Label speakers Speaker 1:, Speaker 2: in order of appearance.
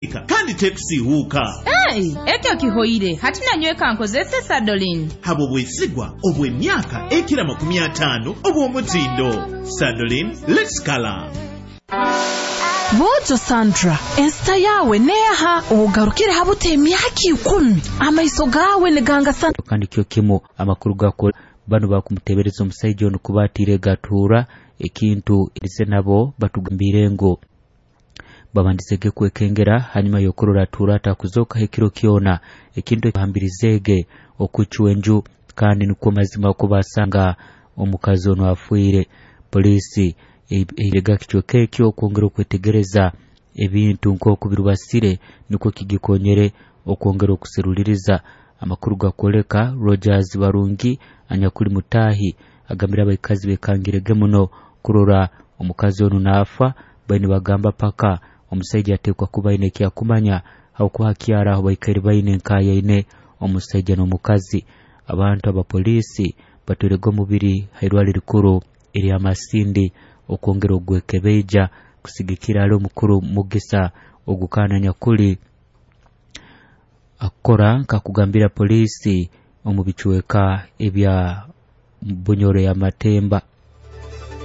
Speaker 1: Kandi tekusiihuuka.
Speaker 2: Hey, ekyo kihoire. Hati nanyweka nkozese Sadolin.
Speaker 1: Habw'obwesigwa obw'emyaka ekira 50 obw'omutindo. Sadolin, let's color.
Speaker 3: Boojo Sandra, ensita yawe neeha ogarukire habuta emyaka 10, amaiso gawe nigangasa.
Speaker 4: Kandi kyo kimu amakuru gako bano bakumutebereza omusaija ono kuba atiire gatuura ekintu ise nabo batugambire ngu babandizege kwekengera hanyuma y'okurora atuura atakuzokaho ekiro kyona, ekintu ekihambirizeege okucwa enju kandi nikwo mazima ko basanga omukazi ono afiire. Poliisi erega kicweka ekyo okwongera okwetegereza ebintu nk'oku birubasire nikwo kigikonyere okwongera okuseruliriza. Amakuru gakwoleka Rogers Barungi anyakuli mutahi agambira abaikazi bekangirege muno kurora omukazi ono naafa, baine bagamba paka omusaija atekwa kuba aine ekyakumanya habwokuba hakyara aho baikaire baine nkayaine omusaija n'omukazi. Abantu abapoliisi batwerega omubiri hairwali rikuru erya Masindi okwongera ogwekebeija kusigikira ali omukuru Mugisa ogukana nyakuli akora nkakugambira polisi omu bicweka ebya Bunyoro ya Matemba.